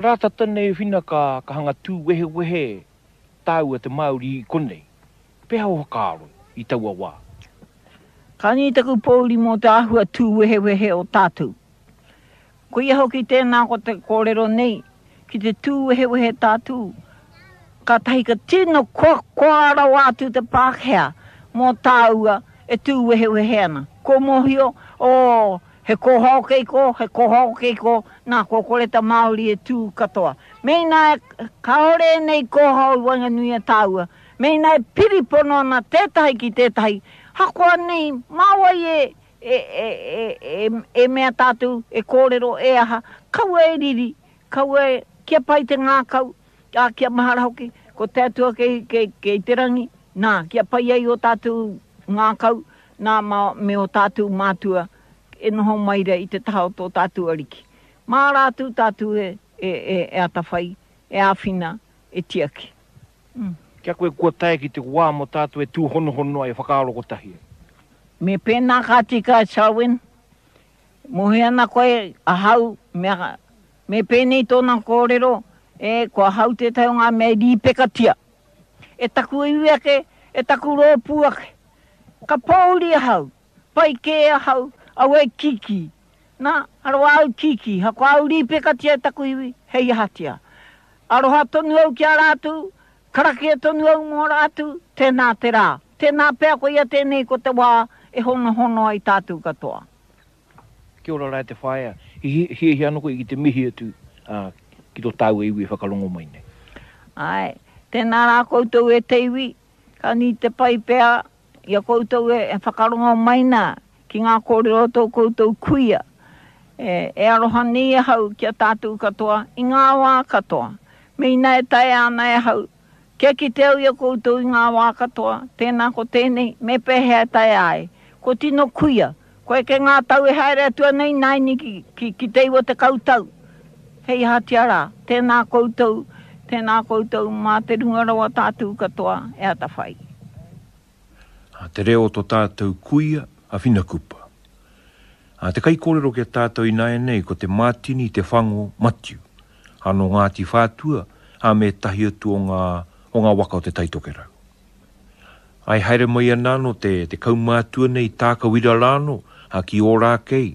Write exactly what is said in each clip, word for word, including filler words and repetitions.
Rā tata nei whina ka, ka hanga tū wehewehe tāua te Māori i konei. Pēhea o whakaaro i taua wā? Ka nui taku pōuri mō te āhua tū wehewehe o tātou. Koia hoki tēnā ko te kōrero nei, ki te tū wehewehe tātou, kātahi ka tino koakoa rawa atu te Pākehā mō tāua e tū wehewehe ana. Ko mōhio, oh, he kōhao kei kō, he kōhao kei kō, nā, kua kore te Māori e tū katoa. Mēnā e, kāore ēnei kōhao i waenganui i a tāua, mēnā e piri pono ana tētahi ki tētahi, hakoa nei, mā wai e, e, e, e, e, e mea tātou, e kōrero, e aha, kaua e riri, kaua e, kia pai te ngākau, ā, kia mahara hoki, ko te Atua kei, kei, kei te rangi, nā, kia pai ai ō tātou ngākau, nā, mā, me ō tātou mātua e noho mai rā i te taha o tō tātou Ariki. Mā rātou tātou e, e, e, e atawhai, e āwhina, e tiaki. Mm. Kia koe kua tae ki te wā mō tātou e tūhonohono ai, e whakaaro kotahi ai. Me pēnā ka tika, Selwyn. Mōhio ana koe, ahau, mea, me pēnei tōna kōrero, e, ko ahau tētahi o ngā mea i rīpekatia. E taku iwi ake, e taku rōpū ake. Ka pōuri ahau, pai kē ahau, au e kīkī. Nā, aroha au kīkī, hakoa au rīpekatia e taku iwi, hei ahatia. Aroha tonu au ki a rātou, karakia tonu au mō rātou, tēnā te rā. Tēnā pea koia tēnei ko te wā e honohono ai tātou katoa. Kia ora rā e te whaea, i hiahia anō koe ki te mihi atu ki tō tāua iwi e whakarongo mai nei. Āe, tēnā rā koutou e te iwi, ka nui te pai pea i a koutou e whakarongo mai nā ki ngā kōrero o tō koutou kuia. E, e aroha nei ahau ki a tātou katoa i ngā wā katoa. Mēnā e taea ana e ahau, kia kite au i a koutou i ngā wā katoa, tēnā ko tēnei, me pēhea e taea ai. Ko tino kuia, koe kei ngā tau e haere atu ana ināianei ki, ki, ki te iwa tekau tau. Hei ahatia rā, tēnā koutou, tēnā koutou, mā te runga rawa tātou katoa e atawhai. A te reo o to tātou kuia, a Whina Kupa. A te kaikōrero ki a tātou ināianei ko te Mātini Te Whango Matiu, a nō Ngāti Whātua, a me ētahi atu o ngā, o ngā waka o Te Tai Tokerau. Ai haere mai ana anō te, te kaumātua nei Tākawira rānō, a ki Ōrākei,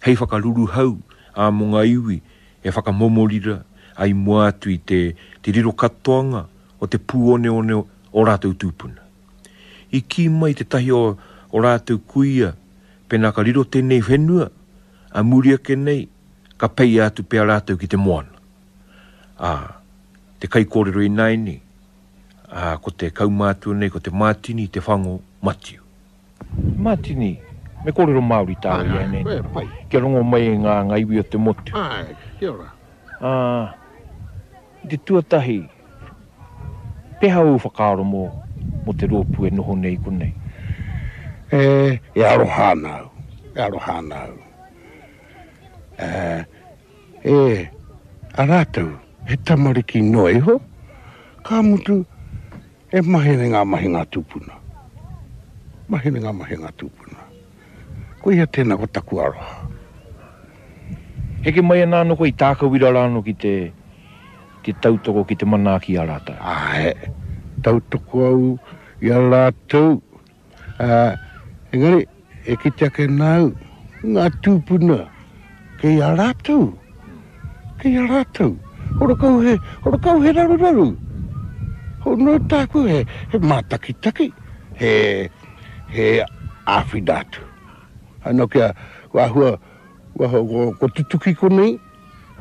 hei whakaruruhau ā mō ngā iwi e whakamomorira ai mua atu i te, te riro katoanga o te pūoneone o rātou tūpuna. I kī mai tētahi o, o rātou kuia, pēnā ka riro tēnei whenua, ā muri ake nei, ka peia atu pea rātou ki te moana. Ā, te kaikōrero ināianei, ā, ko te kaumātua nei, ko te Mātini Te Whango Matiu. Mātini, me kōrero Māori tāua i ēnei nei, kia rongo mai e ngā, ngā iwi o te motu. Āe, kia ora. Ā, i te tuatahi, pēhea ōu whakaaro mō, mō te rōpū e noho nei i konei? E, e aroha ana au, e aroha ana au. E, e, a rātou, he tamariki noa iho, ka mutu, e mahi ana i ngā mahi ngā tūpuna. Mahi ana i ngā mahi ngā tūpuna. Koia tēnā ko taku aroha. Heke mai ana anō koe i Tākawira rānō ki te, te tautoko, ki te manaaki i a rātou? Āe, tautoko au i a rātou. Ā, engari, e kite ake nāu, ngā tūpuna, kei a rātou, kei a rātou. Horakau he, horakau he raruraru. Ho, nō tāku he, he mātakitaki, he, he āwhina atu. Anō kia, kua āhua, kua, kua, kua tutuki konei,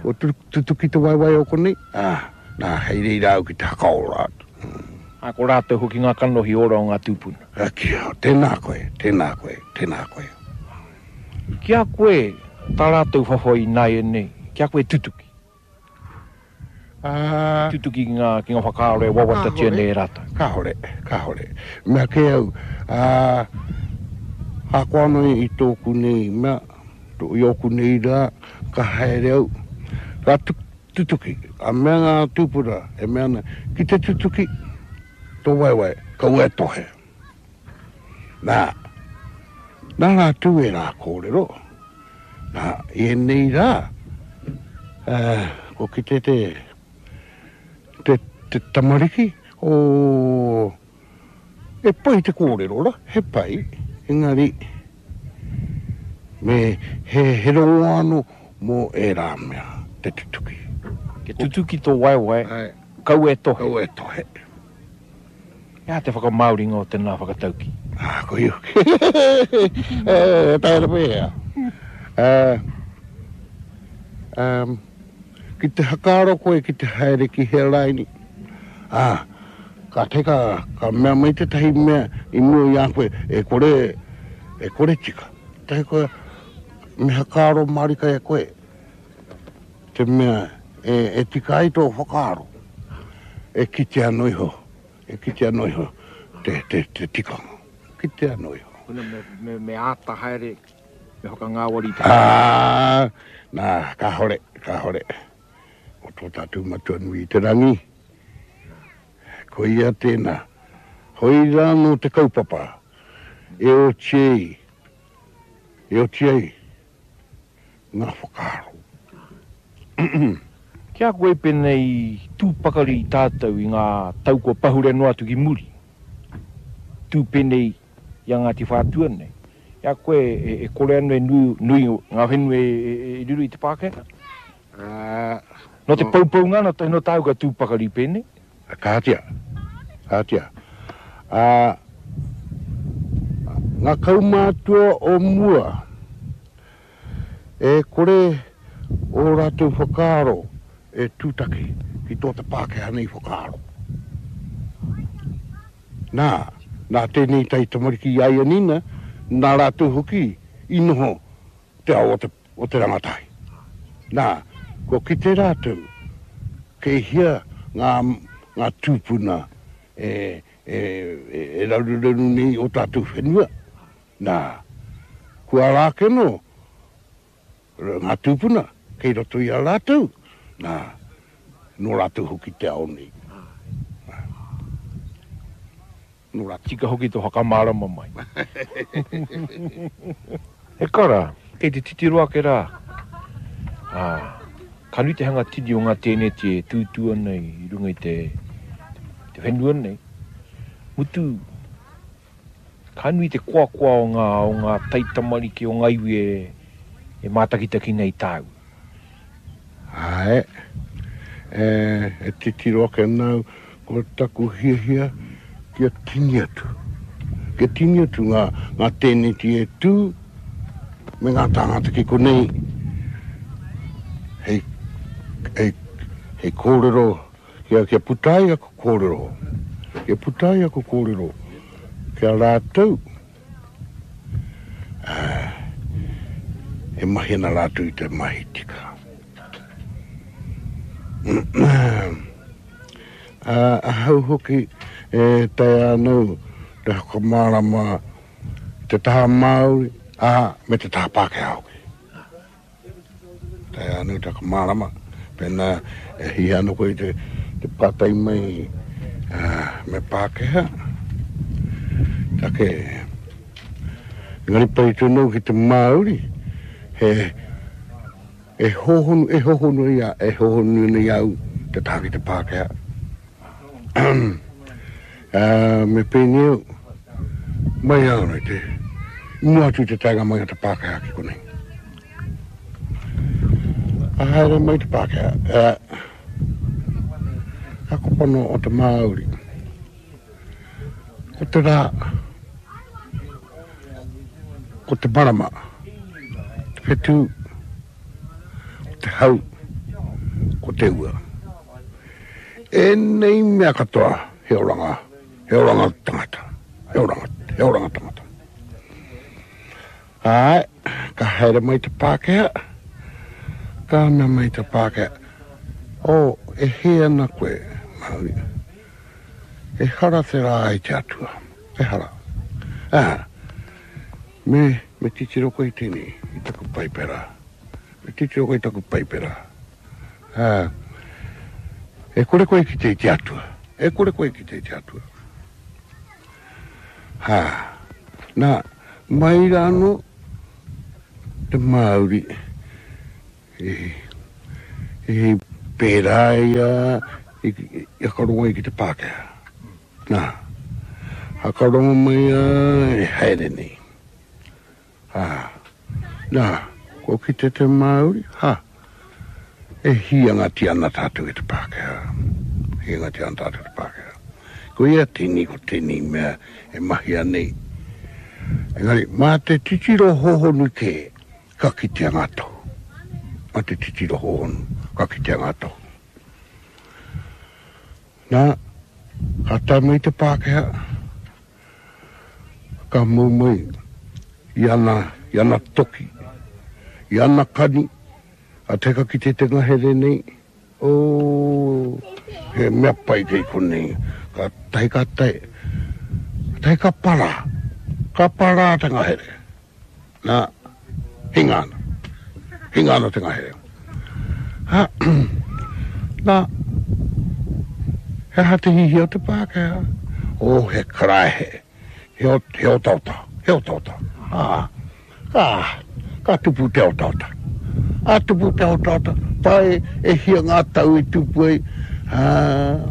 kua tutuki te waewae o konei, ā, nā, hei reira au ki te hakaora atu. Ā, ko rātou hoki ngā kanohi ora o ngā tūpuna. Ā, kia, tēnā koe, tēnā koe, tēnā koe. Ki a koe tā rātou whawhai ināianei, ki a koe tutuki. Ā. Tutuki ki ngā, ki ngā whakaaro e wawatatia nei e rātou. Kāhore, kāhore. Mea kē au, ā, ahakoa anō i tōku nei mea, i ōku nei rā, ka haere au, ka tutuki. Ka mea ngā tūpuna e mea ana, ki te tutuki tō waewae, kaua e tohe. Nā, nā rātou ērā kōrero, nā, i ēnei rā, ā, ko kite te, te, te tamariki, o, e pai te kōrero ra, he pai, engari, me he, he rongo anō mō ērā mea, te tutuki. Ke tutuki tō waewae, Ai. Kaua e tohe. Kaua e tohe. He aha te whakamāoringa o tēnā whakatauki? Ah, ko iu. E, taera pēhea. Uh, um, ki te hakaaro koe ki te haere ki hea raini. Ah, ka teka, ka mea mai tētahi mea i mua i a koe, e kore, e kore tika. Tahi koe, me hakaaro mārika e koe. Te mea, e, e tika ai tō whakaaro. E kite anō iho, e kite anō iho te, te, te tikanga. Kite anō iho. Kuna me, me, me āta haere, me whakangāwari te Ah, nā, kāhore, kāhore. O tō tātou matua nui i te rangi. Ko ia tēnā. Hoi rā nō te kaupapa. E oti ai, e oti ai, ngā whakaaro. Kia koe pēnei tū pakari i tātou i ngā tau kua pahure noa atu ki muri. Tū pēnei i a Ngāti Whātua nei. Ia koe e, e kore anō e nui, nui ngā whenua e, e, e riro i te Pākehā? Ah, Nō te poupounga, nō, nō tāu ka tū pakari pēnei? Kātia, kātia. Ah, ngā kaumātua o mua, e kore o rātou whakaaro e tūtaki ki tō te Pākehā nei whakaaro. Nā, nā tēnei tai tamariki i a Nina, nā rātou hoki i noho te ao o te, o te rangatahi. Nā, ko kite rātou, kei hia ngā, ngā tūpuna e, e, e, e raruraru nei o tātou whenua. Nā, kua rā keno ngā tūpuna kei roto i a rātou. Nā, nō rātou hoki te ao nei. Nō rātou. Tika hoki tō whakamārama mai. E kara, kei te titiro ake rā. Ah, ka nui te hanga tini o ngā tēneti e tūtū ana i runga i te, te whenua nei. Mutu, ka nui te koakoa o ngā, o ngā taitamariki o ngā iwi e, e mātakitaki nei tāu. Ai, e, e titiro ake nau, ko taku hiahia kia tini atu. Kia tini atu ngā, ngā tēneti e tū, me ngā tāngata ki konei, hei, hei, hei kōrero, kia, kia puta ai aku kōrero, kia puta ai aku kōrero, kia rātou, ah, e mahi ana rātou i te mahi tika. Ah, ahau hoki e taea anō te whakamārama te taha Māori, ah, me te taha Pākehā hoki. Taea anō te whakamārama, pēnā e hia anō koe te, te pātai mai, ah, me Pākehā. Take, engari pai tonu ki te Māori, he, e hohonu, e hohonu ia, e hohonu nei au te taha ki te Pākehā. Ah, me pēnei au, mai au nei te, i mua atu te taenga mai o te Pākehā ki konei. Ka haere mai te Pākehā, eh, ka kopano o te Māori. Ko te rā, ko te marama, te whetū, ko te hau, ko te ua. E nei mea katoa, he oranga, he oranga tangata, he oranga, he oranga tangata. Ai, ka haere mai te Pākehā, ka mea mai te Pākehā, o, e hē ana koe, Māori. E hara te rā i te atua, e hara. Ah, me, me titiro koe i tēnei, i taku paipera. Me titiro koe i taku paipera. Ah, e kore koe ki te i te atua. E kore koe ki te i te atua. Ha, nā, mai rānō te Māori e, e Pērā ia i, i hakarongo ai ki te Pākehā. Nā, hakarongo mai a e haere nei. Ha, nā, kua kite te Māori, ha, e hīangatia ana tātou e te Pākehā. Hīangatia ana tātou e te Pākehā. Ko ia tēnei, ko tēnei mea e mahia nei. Engari, mā te titiro hōhonu kē, ka kitea ngā tohu. Mā te titiro hōhonu, ka kitea ngā tohu. Nā, ka tae mai te Pākehā, ka mau mai i ana, i ana toki, i ana kani, a te ka kite te ngahere nei, oh, he mea pai kei konei. Ka tahi ka tae, ka tahi ka para, ka para te ngahere. Nā, hinga ana, hinga ana te ngahere. Ha, nā, he aha te hihia o te Pākehā? Oh, he karaehe, he, o, he otaota, he otaota. Ah, ka, ka tupu te otaota. A tupu te otaota, pai e hia ngā tau i tupu ai. Ah,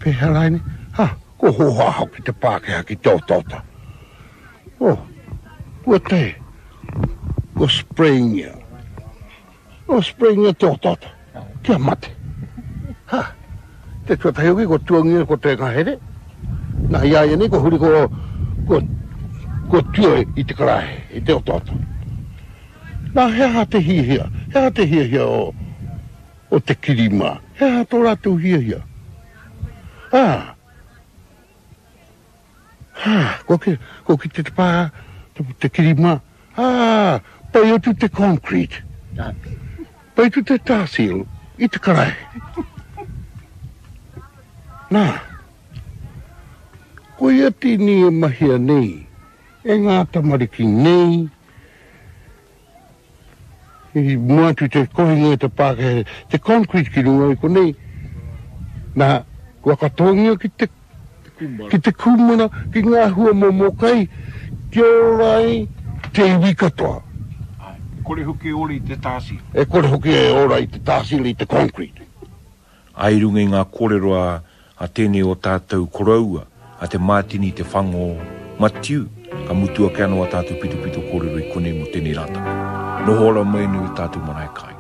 pēhea rānei? Ha, ko hoha hoki te Pākehā ki te otaota. Oh, kua tae, kua sprayingia. Kua sprayingia te otaota, kia mate. Ha, te tuatahi hoki, kua tuangia ko te ngahere. Nā, i a ia nei, kua huri ko, ko, kua tua i te karaehe, i te otaota. Nā, he aha te hiahia? He aha te hiahia o, o te kirima? He aha tō rātou hiahia? Ah, ah, kua ki, kua ki te pā, te, te kirima. Ah, pai atu te concrete. Pai atu te tarseal i te karaehe. Nā, koia tēnei e mahia nei e ngā tamariki nei, i mua atu te kohinga i te Pākehā, te concrete ki runga i konei, nā, kua katoangia ki te, ki te kūmara, ki ngā hua momo kai, kia ora ai te iwi katoa. Ai, e kore hoki e ora i te tarseal. E kore hoki e ora i te tarseal, i te concrete. Ai i runga i ngā kōrero a, a tēnei o tātou koroua, a Te Mātini Te Whango Matiu, ka mutu ake anō a tātou pitopito kōrero i konei mō tēnei rātaka. Noho ora mai nei o tātou marae kāinga.